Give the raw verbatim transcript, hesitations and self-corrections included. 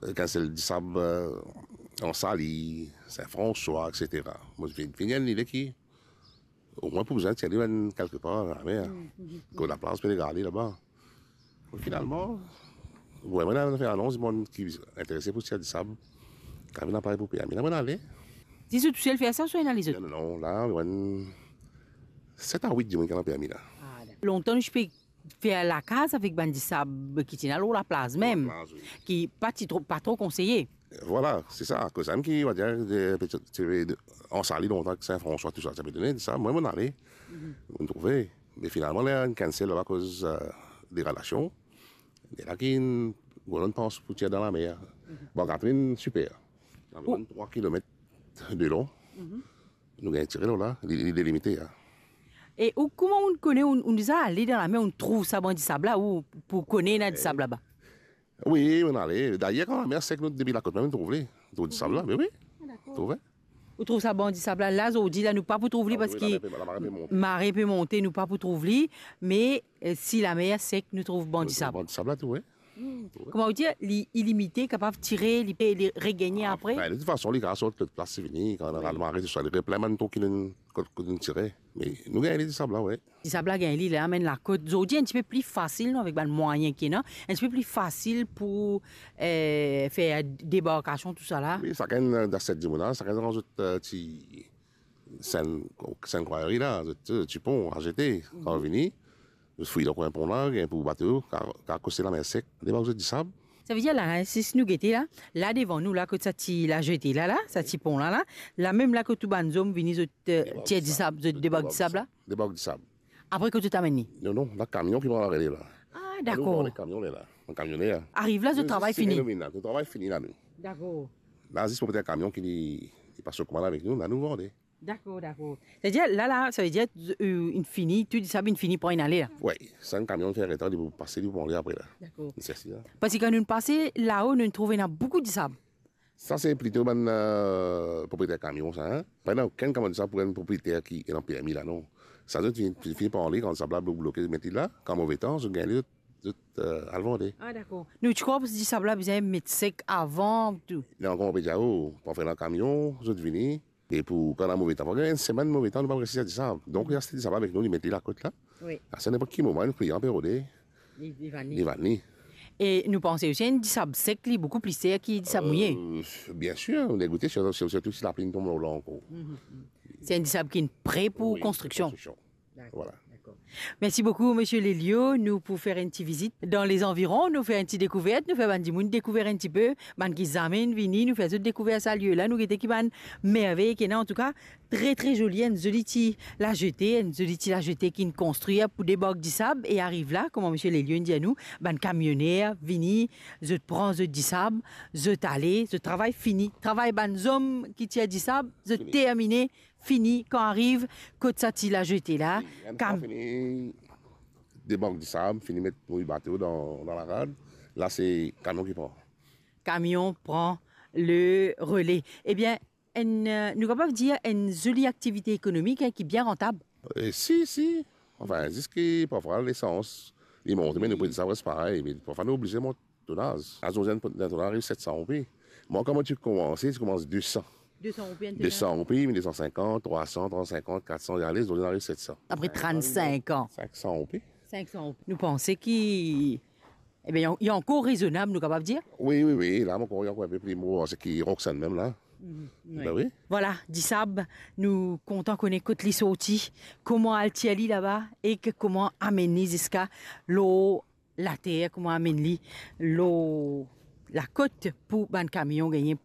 Enn sel disab, eh, Anse Allie, Sin Franswa, et cetera. Mo finn, finn gagn lide ki omwin pou bizin tir li enn kelke par dan lamer. Kot laplas pe gard li laba. Finalman, wi, mo inn fer anons, dimoun ki interese pou tir disab, kan vinn apel pou permi, la mo ale. Zis ou tousel fer sa ouswa ena lezot? Non, non, non, la, wi, set a wit dimoun ki ena permi la. Ah, dakor. Lontan nou ti pe fer lakaz avek bann disab ki ti ena lor laplas mem, laplas, wi, ki pa ti tro, pa tro konseye. Vwala, se sa, akoz sa mem ki, on va dir, de, de, de, Anse Allie lontan, Sin Franswa, tou sa, sa pe done, sa, mwa, mo ale, mo trouve. Me finalman, ler inn cancel laba akoz, eh, degradasion, ena ki enn gro bann pans pou tir dan lamer. Bon, Catherine, siper. Anviron trwa kilomet de lon. Nou gagn tire lor la, li, li delimite, a. E ou, kouma ou kone, ou, ou deza ale dan lamer, ou trouv sa bann disab la, ou pou kone ena disab laba? Wi, mo ale. Dayer, kan lamer sek, nou depi lakot mem, nou trouv li. Trouv disab la, me wi. Ah, dakor. Trouve. Ou trouv sa bann disab la, la, zordi la, nou pa pou trouv li, ah, wi, parski lamar pe, lamar pe monte, lamar pe monte, nou pa pou trouv li, me, eh, si lamer sek, nou trouv bann disab. Bann disab la, tou, wi. Kouma ou dir, li ilimite, kapav tire, li pe, li regagne apre. Ah, ben, de tout fason, li kapav sort lot plas, se fini, kan lamar tou sa, li replen bann tro ki nou, kot, kot nou tire. Me nou gagn li disab la, wi. Disab la gagn li, li amenn lakot. Zordi, enn tipe pli fasil, non, avek bann mwayin ki ena, enn tipe pli fasil pou, eh, fer debarkasion, tou sa la. Wi, sakenn, eh, dan set dimoun la, sakenn dan zot, eh, ti, Sin, Sin Krwari la, zot, eh, ti pon, A G T, kan vini, zot fouy dan kwin pon la, gagn pou bato, ka, ka koste lamer sek, debark zot disab. Sa vedir la, si nou gete la, la devan nou la, kot sa ti lajete la, la, sa ti pon la, la, la mem la kot tou bann zom vini, zot, eh, tir disab, zot debark disab la? Debark disab. Apre kot zot amenn li? Non, non, la kamion ki pran larele la. Ah, dakor. Nou pran kamion la. Kamion la. Ariv la, zot travay fini? Nou travay fini la, nou. Dakor. La, zis pou met kamion ki li, li pas so koumand avek nou, la nou vande. Dakor, dakor. Savedir, la, la, savedir, eh, inn fini, tou disab inn fini pran, inn ale la? Wi, sa enn kamion fer letan, li pou pase, li pou ale apre la. Dakor. Li sers li la. Parski kan nou pase lao, nou trouv ena boukou disab. Sa se plito bann, eh, propriyeter kamion sa, en. Pa ena okenn kamion disab pou enn propriyeter ki ena permi la, non. Sa zot fini, fini pran li, kan disab la blo-, bloke, met li la, kan move tan, zot gagn li, zot, zot, eh, al vande. Ah, dakor. Nou ti krwar disab la bizin met sek avan, tou. Li ankor, pe dir, oh, pou fer dan kamion, zot vini, e pou, kan ena move tan, pou gagn enn semenn move tan, nou pa res tir disab. Donk, li aste disab avek nou, li met li lakot la. Wi. Ase ninport ki moman, enn klian pe rode, li, li vann li. Li vann li. E nou panse osi enn disab sek, li boukou pli ser ki disab mouye. Eh, biensir, nou degoute, sirtou, sirtou si lapli inn tonm lor la ankor. Se enn disab ki pre pou konstriksion. Wi, konstriksion. Dakor, dakor. Vwala. Mersi boukou, Misie Lelio. Nou pou fer enn ti vizit dan lezanviron, nou fer enn ti dekouvert, nou fer bann dimoun dekouver enn tipe, bann ki zame inn vini, nou fer zot dekouver sa lie la, nou gete ki bann mervey ki ena. Antouka, tre, tre zoli, enn zoli ti lajete, enn zoli ti lajete ki'nn konstrir pou debark disab, e ariv la, kouma Misie Lelio inn dir nou, bann kamioner vini, zot pran zot disab, zot ale, zot travay fini. Travay bann zom ki tir disab, zot termine, fini. Kan ariv kot sa ti lajete la, wi, enn fwa fini debark disab, fini met mouy bato dan, dan larad, la se kamion ki pran. Kamion pran le rele. Ebien, enn, eh, nou kapav dir enn zoli aktivite ekonomik, en, ki bien rantab. Eh, si, si. Anfin, zis ki parfwa lesans, li monte, me nou pe dir sa pres parey, me parfwa nou oblize mont tonaz. Azordi enn tonaz ariv set san roupi. Mwa, kan mo ti koumanse, ti koumans de san. De san roupi enn tonaz? De san roupi, me de san sinkant, trwa san, trwa san sinkant, kat san, ale, zordi ariv set san. Apre trant-sink an. Sink san roupi. Sink san roupi. Nou panse ki, ebien, li ankor rezonab, nou kapav dir? Wi, wi, wi, la, mo krwar li ankor enpe pli mo, seki Roxanne mem la. Mhm, wi. Ben wi. Vwala, disab, nou kontan kone kot li sorti, kouma al tir li laba, ek kouma amenn li ziska lor later, kouma amenn li lor lakot pou bann kamion gagne.